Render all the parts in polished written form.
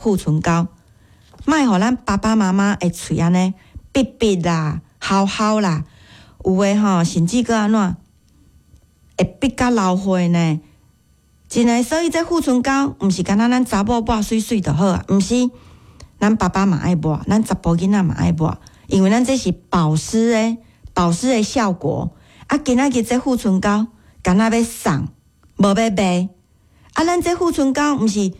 護唇膏，莫予咱爸爸媽媽的喙按呢癟癟啦、鱟鱟啦，有的吼甚至閣按怎會癟甲流血呢？真的，所以這護唇膏毋是干焦咱查某抹媠媠就好啊，毋是，咱爸爸嘛愛抹，咱查埔囡仔嘛愛抹，因為咱這是保濕的，保濕的效果。啊，今仔日這護唇膏敢若欲送，無欲賣。啊，咱這護唇膏毋是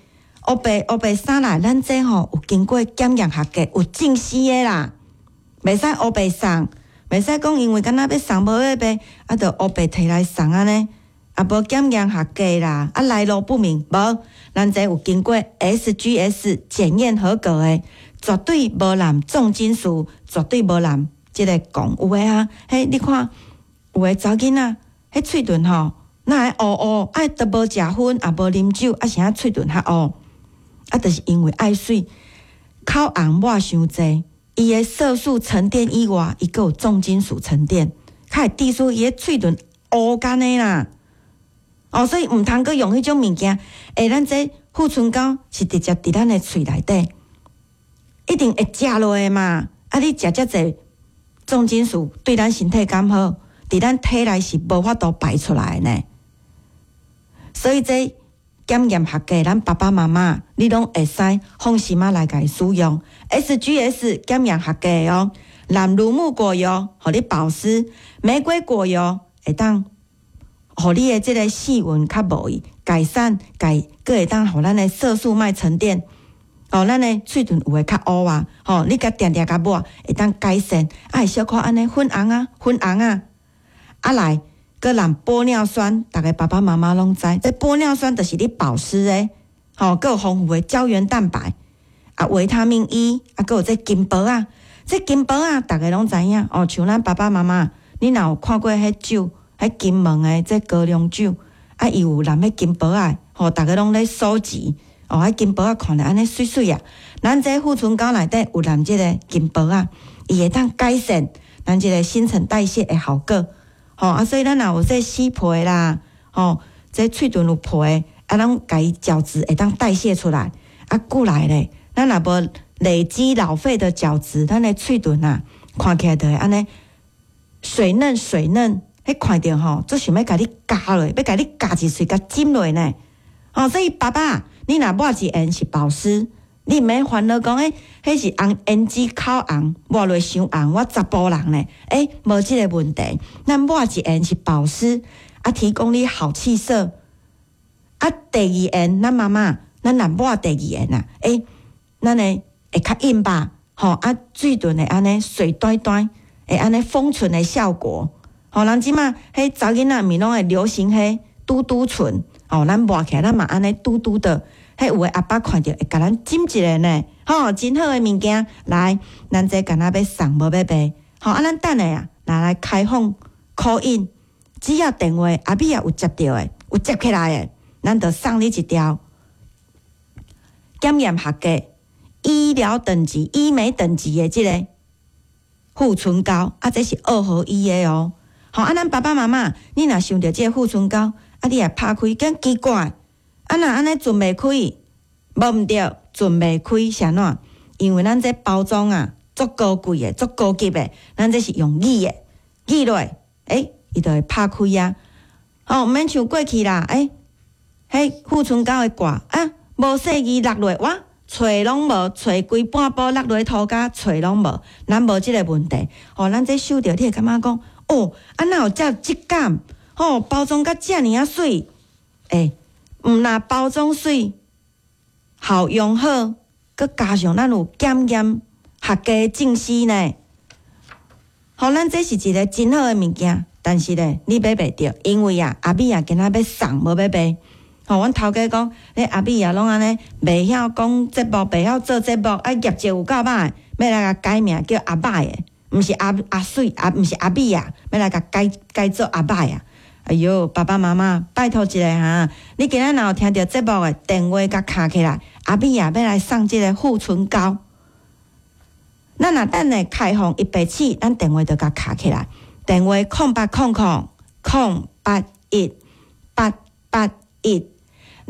烏白烏白啥來，咱這吼有經過檢驗合格，有證實的啦，袂使烏白送，袂使講因為敢若欲送無欲賣，啊，就烏白提來送按呢，啊，無檢驗合格啦，啊，來路不明，無，咱這有經過 SGS 檢驗合格的，絕對無含重金屬，絕對無含這个汞。有的啊，彼你看，有的查某囡仔，彼喙唇吼，哪會烏烏，啊，都無食薰，也無啉酒，啊，啥喙唇較烏？啊，就是因為愛媠，口紅抹傷濟，伊的色素沉澱以外，伊閣有重金屬沉澱，較會致使伊的喙唇烏干的啦。哦，所以毋通閣用彼種物件。欸，咱這護唇膏是直接佇咱的喙內底，一定會食落的嘛。啊，你食遮濟重金屬，對咱身體敢好？佇咱體內是無法度排出來的呢。所以這檢驗合格，咱爸爸媽媽你攏會使放心仔來共伊使用。SGS 檢驗合格的哦，含乳木果油，予你保濕；玫瑰果油會當予你的這个細紋較無去改善，改閣會當予咱的色素莫沉澱。哦，咱的喙唇有會較烏啊，吼，你共定定共抹，會當改善，啊會小可按呢粉紅啊，粉紅啊，啊來。閣含玻尿酸，逐个爸爸媽媽攏知，這玻尿酸就是咧保濕的，吼，閣有豐富的膠原蛋白，啊，維他命 E，啊，閣有這金箔仔，這金箔仔，逐个攏知影哦。像咱爸爸媽媽，你若有看過彼酒，彼金門的這高粱酒，啊，伊有含彼金箔仔，吼，逐个攏咧收集，哦，彼金箔仔看著按呢媠媠啊。咱這護唇膏內底有含這个金箔仔，伊會當改善咱這个新陳代謝的效果。吼啊，所以咱若有這死皮啦，吼，這喙唇有皮，啊，咱共伊角質會當代謝出來，啊，過來咧，咱若無累積老廢的角質，咱的喙唇啊，看起來就會按呢水嫩水嫩，彼看著吼，足想欲共你咬落，欲共你咬一喙，共唚落呢。吼，所以爸爸，你若抹一下是保濕。你毋免煩惱講，欸，彼是紅胭脂口紅，抹落傷紅，我查埔人呢，欸，無這个問題。咱抹一下是保濕，啊，提供你好氣色。啊，第二下，咱媽媽，咱若抹第二下啊，欸，咱的會較硬吧？吼，啊，喙唇會按呢水彈彈，會按呢豐唇的效果。吼，人這馬彼查某囡仔毋是攏會流行彼嘟嘟唇，吼，咱抹起來咱嘛按呢嘟嘟的。彼有的阿爸看著會共咱唚一下呢，吼，真好的物件，來，咱這敢若欲送無欲賣，吼，啊，咱等下啊，拿來開放 call in，只要電話阿美仔有接著的，有接起來的，咱就送你一條檢驗合格、醫療等級、醫美等級的這个護唇膏，啊，這是二合一的哦，吼，啊，咱爸爸媽媽，你若想著這个護唇膏，啊，你也拍開，敢奇怪。啊，若按呢唇袂開，無毋對，唇袂開是按怎？因為咱這包裝啊，足高貴的，足高級的，咱這是用擠的，擠落，欸，伊就會拍開啊。吼，毋免像過去啦，欸，彼護唇膏的蓋啊，無細意落落，哇，揣攏無，揣規半包落落塗跤，揣攏無，咱無這个問題。吼，咱這收著，你會感覺講，哦，啊哪有遮質感？吼，包裝甲遮爾仔媠，欸。毋但包裝媠，效用好，閣加上咱有檢驗合格證書呢。吼，咱這是一个真好的物件，但是咧，你買袂著，因為啊，阿美仔今仔欲送，無欲賣。吼，阮頭家講，咧阿美仔攏按呢，袂曉講節目，袂曉做節目，啊業績有夠歹，欲來共改名叫阿歹的，毋是阿阿媠，啊毋是阿美仔，欲來共改改做阿歹啊。哎喲，爸爸媽媽，拜託一下哈！你今仔若有聽著節目的電話，共敲起來，阿美仔欲來送這个護唇膏。咱若等下開放一白起，咱電話就共敲起來。電話0800 008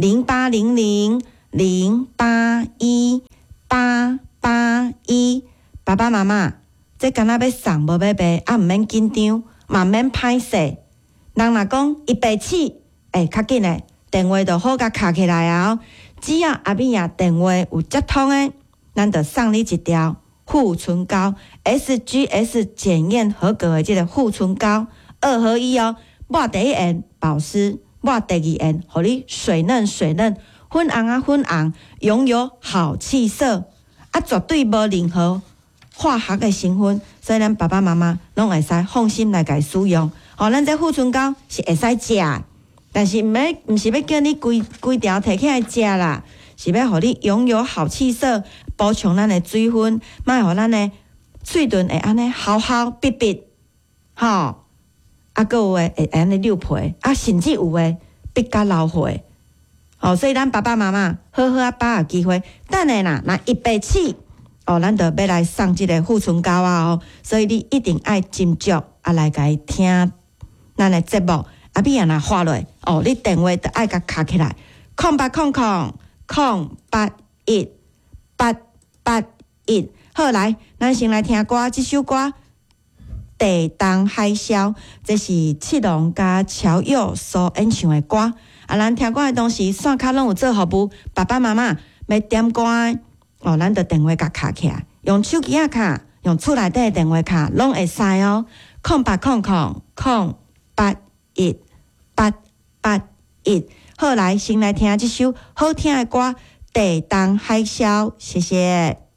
881，0800。081881。爸爸媽媽，這敢若欲送無欲賣，啊毋免緊張，嘛毋免歹勢。人若講伊白齒，欸，較緊的電話就好共敲起來啊！只要阿美仔電話有接通的，咱就送你一條護唇膏，SGS 檢驗合格的這个護唇膏，二合一哦。抹第一遍保濕，抹第二遍，予你水嫩水嫩，粉紅啊粉紅，擁有好氣色，啊，絕對無任何化學的成分，所以咱爸爸媽媽攏會使放心來共使用。吼，咱這護唇膏是會使食的，但是毋免，毋是欲叫你規規條提起來食啦，是欲予你擁有好氣色，補充咱的水分，莫予咱的喙唇會按呢厚厚煏煏，吼。啊，閣有的會按呢溜皮，啊，甚至有的煏甲流血。吼，所以咱爸爸媽媽好好仔把握機會，等下啦，若伊白齒，哦，咱就欲來送這个護唇膏啊哦，所以你一定愛斟酌啊來共伊聽咱的節目。阿美仔若發落，哦，你電話就愛共敲起來，0800 081 881。好，來，咱先來聽歌，這首歌《地動海嘯》，這是七龍佮喬佑所演唱的歌。啊，咱聽歌的同時，線跤攏有做服務，爸爸媽媽欲點歌的，哦，咱就電話共敲起來，用手機仔敲，用厝內底的電話敲，攏會使哦。0800 081 881。好，來，先來聽這首好聽的歌《地動海嘯》，謝謝。